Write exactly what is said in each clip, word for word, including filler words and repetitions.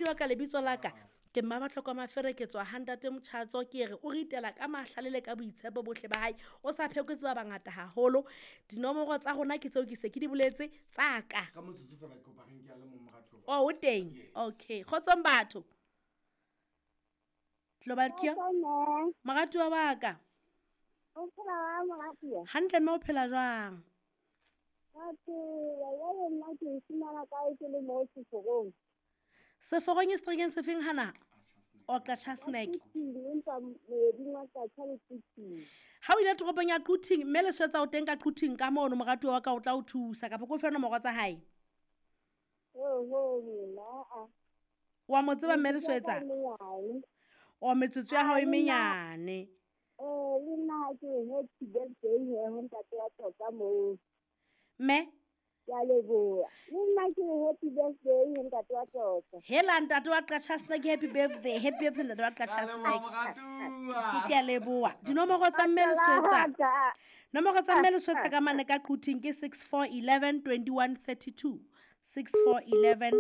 Wa ka lebitso la ka ke Mmabatlhoko Mafere, ke tswa ha ntate Motjhatso. Ke re o ritela ka mahlale le ka boitshepo bohle ba hae, o sa phekotse ba bangata haholo. Dinomoro tsa rona ke tseo ke se ke di boletse tsa ka. Ka motsotso fela ke kopa re nke a le mong moratuwa. O o teng? Yes. Okay, kgotsong batho. Global Cure. Kgotso, Moratuwa wa ka. O phela wa moratuwa? Hantle mme, o phela jwang? Ka phela. Jwale nna ke e fumana kae ke le moo seforong? Seforong e seterekeng sefeng hana? O Qacha Snack. Quthing, empa moeding wa Qacha le Quthing. Ha o ile toropong ya Quthing, mme le swetsa o teng ka Quthing ka mono, moratuwa wa ka o tla o thusa kapa ko fe nomoro tsa hae. Oho, mina a. Wa mo tseba mme Leswetsa? Menyane. O metsotso ya hao e menyane. Eh, le nna ha ke re happy birthday he ho ntate wa tota moo. Mme? Ke a leboha. Le nna ke re happy birthday ho ntate wa tota. Hela ntate wa Qacha Snack, happy birthday. Happy birthday ntate wa Qacha Snack. Ke ke a leboha. Dinomoro tsa mme Leswetsa. Nomoro tsa mme Leswetsa ka mane ka Quthing ke six four eleven twenty one thirty two. six four eleven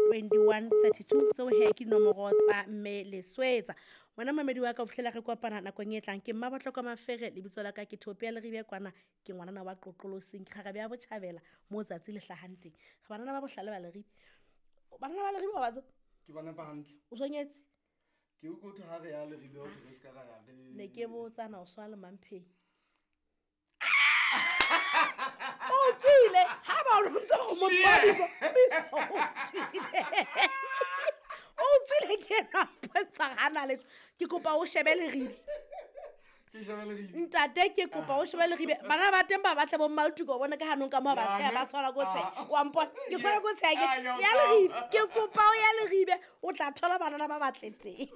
twenty one thirty two. Tseo he ke dinomoro tsa mme Leswetsa. Wena mamedi wa ka, o fihlela re kopana nakong e tlang. Ke Mmabatlhoko Mafere, lebitso la ka ke Thopia Leribe kwana, ke ngwanana wa Qoqolosing, ke kgarabe ya Botjhabela moo tsatsi le hlahang teng. Re banana ba bohlale ba Leribe. Banana ba Leribe wa ba tseba? Ke bana ba hantle. O sonyetse? Ke utlwe ho thwe ha re ya Leribe ho thwe re ska ra ya re. Ne ke botsa na o swa le Mampheng. O tswile, ha ba o ntse go motho wa bitso, o tswile. O tswile ke ena a mpontsha ga na letho. Ke kopa o shebe Leribe. Ke shebe Leribe. Ntate, ke kopa o shebe Leribe. Bana ba teng ba batla bo Mmaltuko, o bona ka hanong ka moo ba tsheha, ba tshwara ko tsheha. Wa mpona? Ke tshwara ko tsheha ke Ah, ya ya utlwa. Leribe. Ke kopa o ya Leribe, o tla thola banana ba batle teng.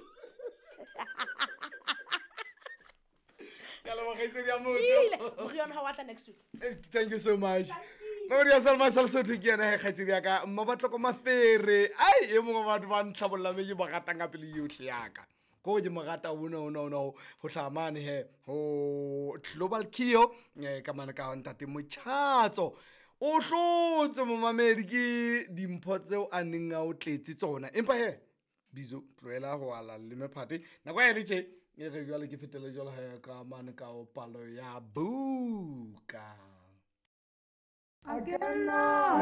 Ke a leboha kgaitsedi ya motho. Ile. Moriana ha wa tla next week. Eh, thank you so much. Mamedi ya Salma Salsotho ke yena he kgaitsedi ya ka, Mmabatlhoko Mafere. Ai, e mongwe wa batho ba ntlhabollang mme ke ba ratang ka pelo yohle ya ka. Ko ke mo rata ona, ona, ona, ho hlaha mane he, ho Global Kio, eh, ka mane ka ntate Motjhatso. O hlotse momamedi ke dimpho tseo a neng a o tletse tsona. Empa he, Bizo, tlohela ho ala le mephate. Nako ya le tje, e re jwale ke fetele jwalo he ka mane ka ho palo ya buka. Again,